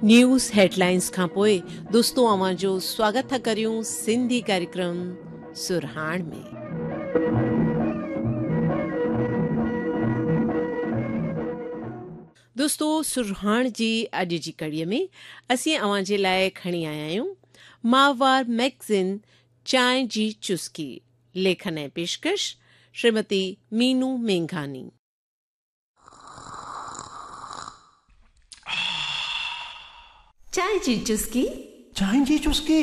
News headlines کان پوء دوستو اوهان جو سواگت ٿا ڪريون سنڌي ڪاريڪرم سرهاڻ ۾. دوستو سرهاڻ جي اڄ جي ڪڙي ۾ اسين اوهان جي لاء کڻي آيا آهيون ماهوار مئگزين چانهه جي چسڪي ليکن ۽ پيشڪش شريمتي مينو مينگهاني. چانهه جي چسڪي. چانهه جي چسڪي.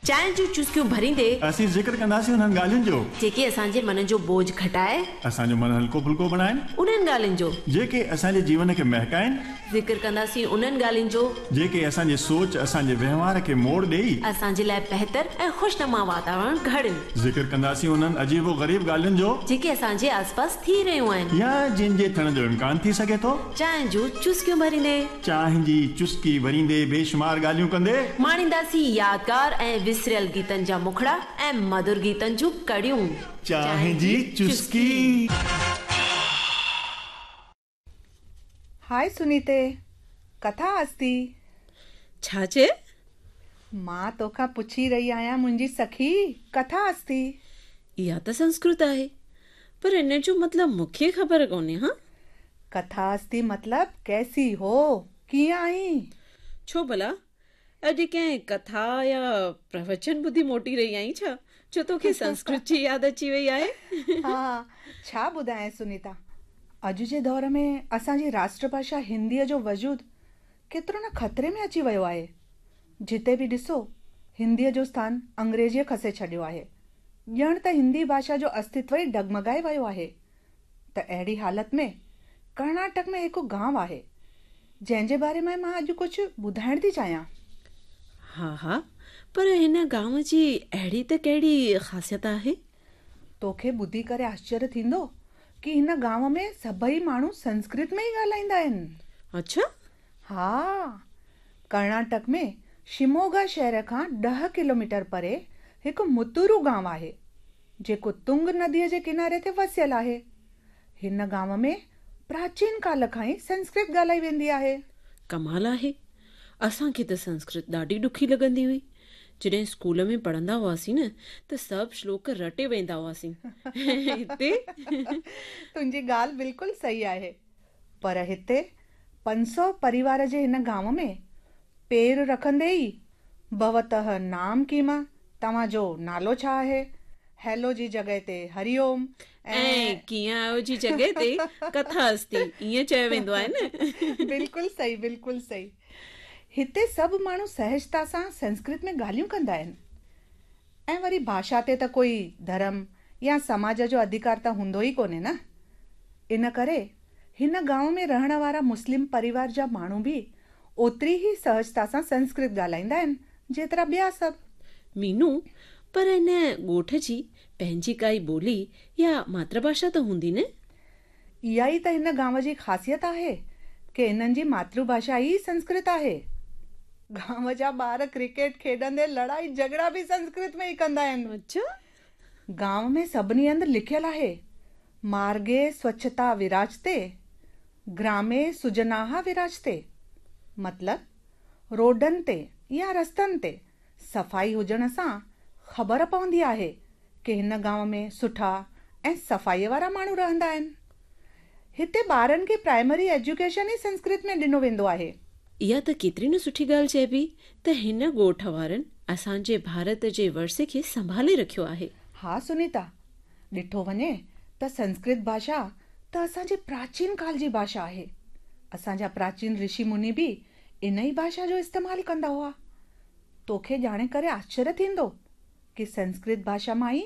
چانهه جون چسڪيون ڀريندي. اسين ذڪر ڪنداسين انهن ڳالهين جو. جيڪي اسان جي من جو بوجهه گهٽائي. اسان جو من هلڪو ڦلڪو بڻائين. انهن ڳالهين جو. جيڪي اسان جي جيون کي مهڪائين. ذڪر ڪنداسين انهن ڳالهين جو. جيڪي اسان جي سوچ، اسان جي وهنوار کي موڙ ڏيئي. اسان جي لاء بهتر ۽ خوشنما واتاورڻ گهڙين. ذڪر ڪنداسين انهن عجيب و غريب ڳالهين جو. جيڪي اسان جي آسپاس ٿي رهيون آهن. يا جن جي ٿيڻ جو امڪان ٿي سگهي ٿو. چانهه جون چسڪيون ڀريندي. چانهه جي چسڪي ڀريندي بيشمار ڳالهيون ڪندي. ماڻينداسين يادگار ۽ وسريل گيتن جا مکڙا ۽ مڌر گيتن جون ڪڙيون. چانهه جي چسڪي. هاء سنيتي، ڪٿا استي؟ ڇا چئي؟ مان توکان پڇي رهي آهيان منهنجي سکي، ڪٿا استي؟ اها ته سنسڪرت آهي، پر ان جو مطلب مون کي خبر ڪونهي ها. ڪٿا استي مطلب ڪيسي هو، ڪيئن آهين؟ ڇو ڀلا، اڄ ڪنهن ڪٿا يا پروچن ٻڌي موٽي رهي آهين ڇا، جو توکي سنسڪرت جي ياد اچي وئي آهي؟ ها، ڇا ٻڌايانء سنيتا، اڄ جي دور ۾ اسان جي راشٽر ڀاشا هنديء جو وجود ڪيترو نه خطري ۾ اچي ويو آهي. جتي به ڏسو، هنديء جو اسٿان انگريزيء کسي ڇڏيو آهي. ڄڻ ته هندي ڀاشا جو استتو ئي ڊگمگائي ويو آهي. ته اهڙي حالت ۾ ڪرناٽڪ ۾ هڪ گانء آهي، جنهن جي باري ۾ مان اڄ ڪجهه ٻڌائڻ ٿي چاهيان. ها ها، پر هن گانء جي اهڙي ته ڪهڙي خاصيت آهي؟ توکي ٻڌي ڪري آشچريه ٿيندو ڪي هن گانء ۾ سڀئي ماڻهو سنسڪرت ۾ ئي ڳالهائيندا آهن. اڇا! ها، ڪرناٽڪ ۾ شموگا شهر کان ڏهه ڪلوميٽر پري هڪ متورو گانء آهي، جيڪو تنگ نديء جي ڪناري تي وسيل آهي. هن گانء ۾ پراچين ڪال کان ئي سنسڪرت ڳالهائي ويندي آهي. ڪمال آهي. اسان کي ته سنسڪرت ڏاڍي ڏکي لڳندي هئي. جڏهن اسڪول ۾ پڙهندا هئاسين نه ته سڀ شلوڪ رٽي ويندا هئاسين. هتي. تنهنجي ڳالهه بلڪل صحيح آهي. پر هتي 500 پريوار جي هن گانء ۾ پير رکندي ئي ڀوتهه نام ڪيم، توهان جو نالو ڇا آهي؟ هيلو جي جڳهه تي هري اوم ۽. ڪيئن آهيو جي جڳهه تي ڪٿا استي ائين چيو ويندو آهي نه. بلڪل صحيح بلڪل صحيح. هتي سڀ ماڻهو سهجتا سان سنسڪرت ۾ ڳالهيون ڪندا آهن ۽ وري ڀاشا تي ته ڪوئي ڌرم يا سماج جو اڌڪار ته هوندو ئي ڪونهي نه. ان ڪري هن گانء ۾ رهڻ وارا مسلم پريوار جا ماڻهو به اوتري ئي سهجتا سان سنسڪرت ڳالهائيندا آهن جيترا ٻيا سڀ. مينو، پر ان ڳوٺ جي پنهنجي ڪائي ٻولي يا ماتر ڀاشا ته هوندي نه؟ اها ئي ته هن گانء جي خاصيت آهي ڪي انهن جي ماتر ڀاشا ئي سنسڪرت آهي. گانء جا ٻار ڪرڪيٽ کيڏندي لڙائي جهڳڙا به سنسڪرت ۾ ئي ڪندا آهن. اڇا! گانء ۾ سڀني هنڌ لکيل آهي، مارگي سوڇتا وراجتي، گرامي سجناها وراجتي. مطلب روڊن تي يا رستن تي صفائي هجڻ سان خبر پوندي آهي ڪي هن گانء ۾ سٺا ۽ صفائيء وارا ماڻهو رهندا آهن. هتي ٻارن کي پرائمري ايجوڪيشن ئي سنسڪرت ۾ ڏنو ويندو آهي. اها ته ڪيتري نه سٺي ڳالهه چئبي ته هن ڳوٺ وارن اسان جي ڀارت جي ورثي کي سنڀالي رکيو آهي. ها سنيتا، ڏٺو وڃي ته سنسڪرت ڀاشا ته اسان جي پراچين ڪال جي ڀاشا آهي. اسان جا پراچين رشي مني به ان ئي ڀاشا جو استعمال ڪندا هئا. توکي ڄاڻي ڪري آشچريه ٿيندو ڪي سنسڪرت ڀاشا مان ئي.